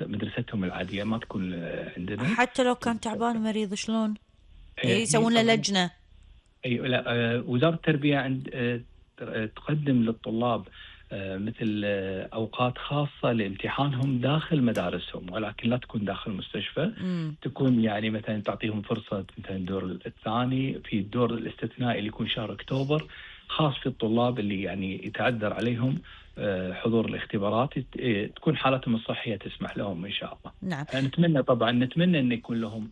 مدرستهم العادية، ما تكون عندنا. حتى لو كان تعبان ومريض شلون هي يسوون له طبعا لجنة؟ لا، وزارة التربية عند تقدم للطلاب مثل أوقات خاصة لامتحانهم داخل مدارسهم، ولكن لا تكون داخل المستشفى. امم. تكون يعني مثلا تعطيهم فرصة مثلا الدور الثاني، في الدور الاستثنائي اللي يكون شهر أكتوبر، خاص في الطلاب اللي يعني يتعذر عليهم حضور الاختبارات، تكون حالتهم الصحية تسمح لهم إن شاء الله. نعم. نتمنى طبعا، نتمنى أن يكون لهم،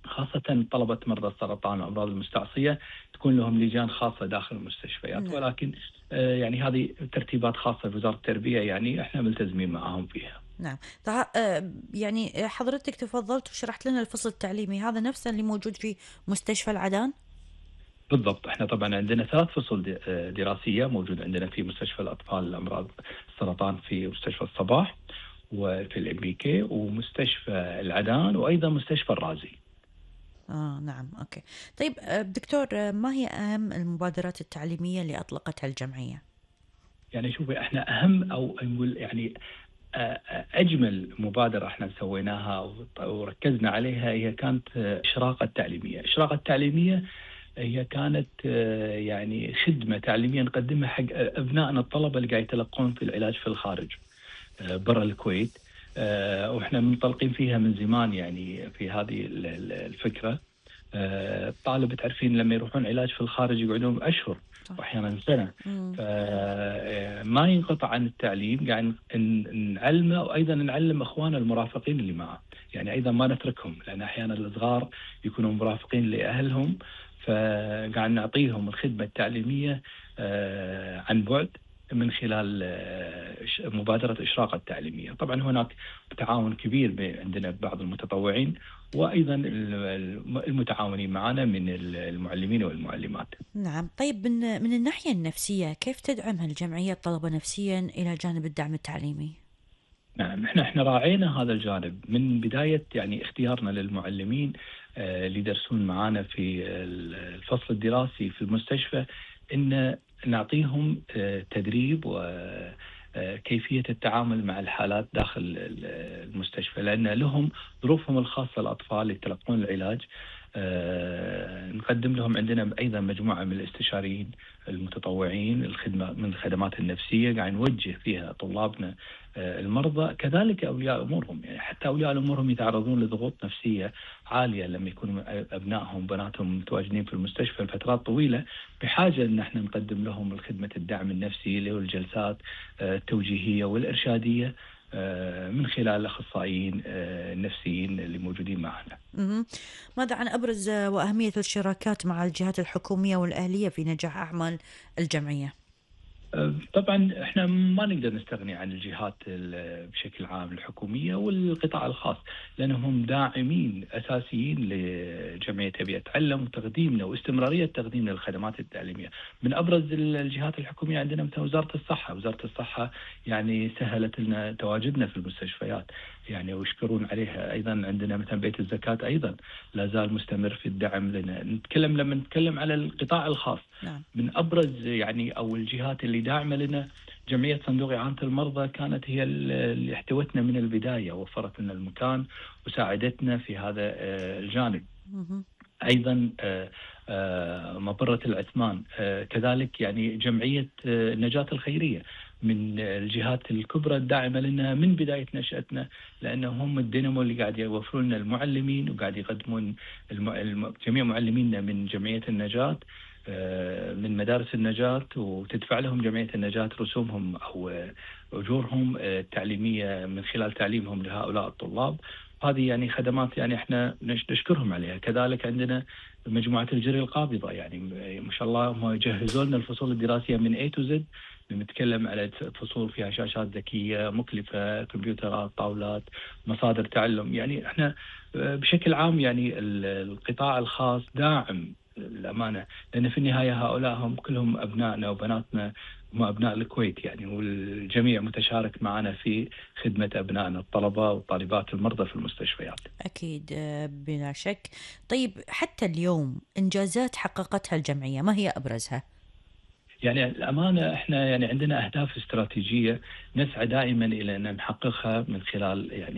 خاصة طلبة مرضى السرطان والأمراض المستعصية، تكون لهم لجان خاصة داخل المستشفيات. نعم. ولكن يعني هذه ترتيبات خاصة بوزارة التربية، يعني احنا ملتزمين معهم فيها. نعم. يعني حضرتك تفضلت وشرحت لنا الفصل التعليمي هذا نفسه اللي موجود في مستشفى العدن؟ بالضبط. احنا طبعا عندنا 3 فصول دراسية موجود عندنا في مستشفى الأطفال الأمراض السرطان، في مستشفى الصباح، وفي الأمريكي، ومستشفى العدن، وأيضا مستشفى الرازي. نعم. أوكي. طيب دكتور، ما هي أهم المبادرات التعليمية اللي أطلقتها الجمعية؟ يعني شوفي، احنا أهم أو نقول يعني أجمل مبادرة احنا سويناها وركزنا عليها هي كانت إشراقة التعليمية. إشراقة التعليمية هي كانت يعني خدمة تعليمية نقدمها حق أبنائنا الطلبة اللي قاعد يتلقون في العلاج في الخارج برا الكويت. وإحنا منطلقين فيها من زمان يعني في هذه الفكرة. الطالب تعرفين لما يروحون علاج في الخارج يقعدون أشهر صح. وأحيانا سنة، مم. فما ينقطع عن التعليم، قاعد نعلمه، وأيضا نعلم أخواننا المرافقين اللي معه، يعني أيضا ما نتركهم، لأن أحيانا الصغار يكونوا مرافقين لأهلهم، فقاعد نعطيهم الخدمة التعليمية عن بعد من خلال مبادرة إشراقة التعليمية. طبعا هناك تعاون كبير عندنا بعض المتطوعين، وأيضا المتعاونين معنا من المعلمين والمعلمات. نعم. طيب من الناحية النفسية كيف تدعم هالجمعية الطلبة نفسيا إلى جانب الدعم التعليمي؟ نعم، احنا راعينا هذا الجانب من بداية يعني اختيارنا للمعلمين اللي يدرسون معنا في الفصل الدراسي في المستشفى، ان نعطيهم تدريب وكيفية التعامل مع الحالات داخل المستشفى، لأن لهم ظروفهم الخاصة. الأطفال اللي يتلقون العلاج نقدم لهم، عندنا أيضا مجموعة من الاستشاريين المتطوعين، الخدمة من الخدمات النفسية قاعد نوجه فيها طلابنا المرضى، كذلك أولياء أمورهم. يعني حتى أولياء أمورهم يتعرضون لضغوط نفسية عالية لما يكونوا أبنائهم وبناتهم متواجدين في المستشفى لفترات طويلة، بحاجة أن احنا نقدم لهم الخدمة الدعم النفسي اللي هو الجلسات التوجيهية والإرشادية من خلال الأخصائيين النفسيين اللي موجودين معنا. ماذا عن أبرز وأهمية الشراكات مع الجهات الحكومية والأهلية في نجاح أعمال الجمعية؟ طبعا احنا ما نقدر نستغني عن الجهات بشكل عام، الحكوميه والقطاع الخاص، لانهم داعمين اساسيين لجمعيه ابي اتعلم وتقديمنا واستمراريه تقديمنا للخدمات التعليميه. من ابرز الجهات الحكوميه عندنا مثل وزاره الصحه. وزاره الصحه يعني سهلت لنا تواجدنا في المستشفيات يعني، ويشكرون عليها. ايضا عندنا مثلا بيت الزكاه ايضا لا زال مستمر في الدعم لنا. لما نتكلم على القطاع الخاص، نعم. من ابرز يعني او الجهات اللي داعمه لنا جمعيه صندوق اعانه المرضى، كانت هي اللي احتوتنا من البدايه، وفرت لنا المكان وساعدتنا في هذا الجانب. ايضا مبره العثمان كذلك، يعني جمعيه النجاه الخيريه من الجهات الكبرى الداعمه لنا من بدايه نشاتنا، لانهم هم الدينامو اللي قاعد يوفرون لنا المعلمين، وقاعد يقدمون جميع معلمينا من جمعيه النجاه من مدارس النجاة، وتدفع لهم جمعية النجاة رسومهم أو أجورهم التعليمية من خلال تعليمهم لهؤلاء الطلاب. هذه يعني خدمات يعني احنا نشكرهم عليها. كذلك عندنا مجموعة الجري القابضة، يعني ما شاء الله هم يجهزوا لنا الفصول الدراسية من A to Z. نتكلم على فصول فيها شاشات ذكية مكلفة، كمبيوترات، طاولات، مصادر تعلم. يعني احنا بشكل عام يعني القطاع الخاص داعم الأمانة، لأن في النهاية هؤلاء هم كلهم أبنائنا وبناتنا، هم أبناء الكويت يعني، والجميع متشارك معنا في خدمة أبنائنا الطلبة والطالبات المرضى في المستشفيات. أكيد بلا شك. طيب حتى اليوم إنجازات حققتها الجمعية ما هي أبرزها؟ يعني الأمانة إحنا يعني عندنا أهداف استراتيجية نسعى دائما إلى أن نحققها من خلال يعني